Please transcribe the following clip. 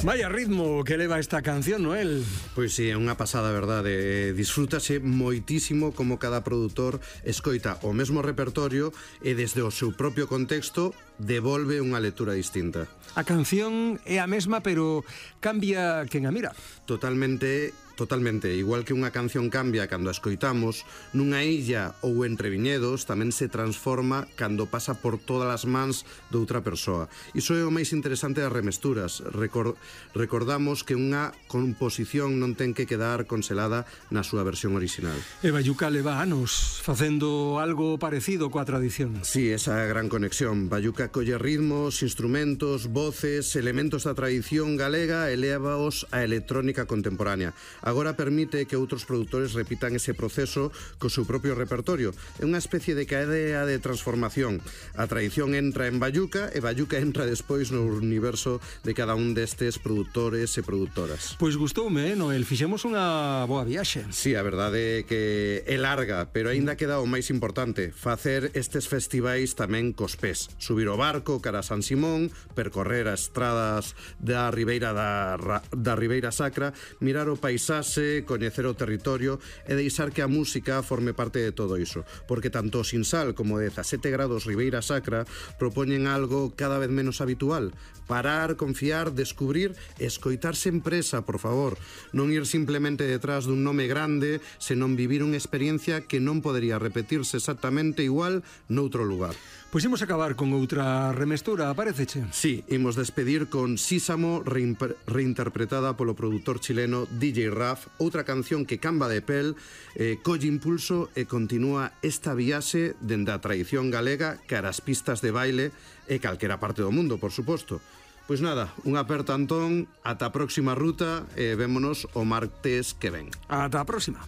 Vaya ritmo que leva esta canción, Noel. Pois si, é unha pasada, verdade. Disfrútase moitísimo como cada produtor escoita o mesmo repertorio e desde o seu propio contexto devolve unha lectura distinta. A canción é a mesma, pero cambia quen a mira. Totalmente, igual que unha canción cambia cando a escoitamos, nunha illa ou entre viñedos tamén se transforma cando pasa por todas as mans doutra persoa. Iso é o máis interesante das remesturas. Recordamos que unha composición non ten que quedar conselada na súa versión original. E Bayuca leva anos facendo algo parecido coa tradición. Sí, esa gran conexión. Bayuca colle ritmos, instrumentos, voces, elementos da tradición galega e lévaos á electrónica contemporánea. Agora permite que outros produtores repitan ese proceso co seu propio repertorio. É unha especie de cadea de transformación. A tradición entra en Bayuca e Bayuca entra despois no universo de cada un destes produtores e produtoras. Pois gustoume, Noel? Fixemos unha boa viaxe. Sí, a verdade é que é larga, pero aínda queda o máis importante, facer estes festivais tamén cos pés. Subir o barco cara a San Simón, percorrer as estradas da Ribeira da Ribeira Sacra, mirar o paisaxe, coñecer o territorio e deixar que a música forme parte de todo iso, porque tanto o Sinsal como 17 grados Ribeira Sacra propoñen algo cada vez menos habitual: parar, confiar, descubrir e escoitar sen presa, por favor. Non ir simplemente detrás dun nome grande, senón vivir unha experiencia que non podería repetirse exactamente igual noutro lugar. Pois imos acabar con outra remestura, paréceche? Sí, imos despedir con Sísamo, reinterpretada polo produtor chileno DJ Raf, outra canción que camba de pel, colle impulso e continúa esta viaxe dende a tradición galega cara as pistas de baile e calquera parte do mundo, por suposto. Pois nada, un aperto, Antón, ata a próxima ruta e vémonos o martes que ven. Ata a próxima.